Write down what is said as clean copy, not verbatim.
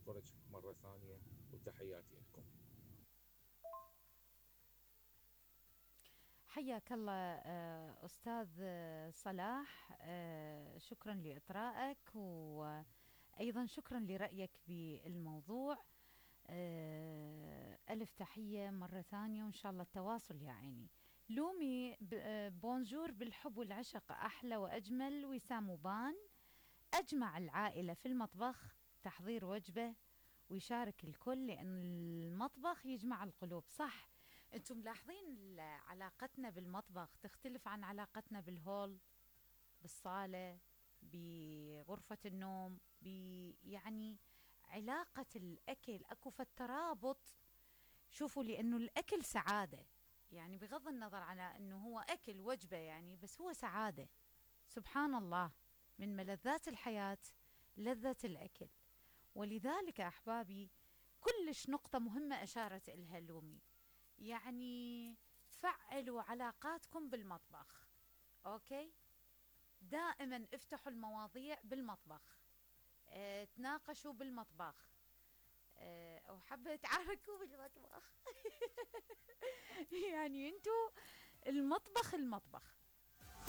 واشكرك مرة ثانية وتحياتي لكم. حياك الله أستاذ صلاح، شكرا لإطرائك، وأيضا شكرا لرأيك بالموضوع. ألف تحية مرة ثانية، وإن شاء الله التواصل يا عيني. لومي بونجور بالحب والعشق، أحلى وأجمل وسام وبان. أجمع العائلة في المطبخ تحضير وجبة ويشارك الكل، لأن المطبخ يجمع القلوب. صح، أنتم ملاحظين علاقتنا بالمطبخ تختلف عن علاقتنا بالهول، بالصالة، بغرفة النوم، يعني علاقة الأكل أكو فالترابط. شوفوا، لأنه الأكل سعادة، يعني بغض النظر على أنه هو أكل وجبة يعني، بس هو سعادة. سبحان الله، من ملذات الحياة لذة الأكل. ولذلك أحبابي، كلش نقطة مهمة أشارت إلها لومي، يعني فعلوا علاقاتكم بالمطبخ. أوكي، دائما افتحوا المواضيع بالمطبخ، تناقشوا بالمطبخ، أو حابة تعاركوا بالمطبخ. يعني انتو المطبخ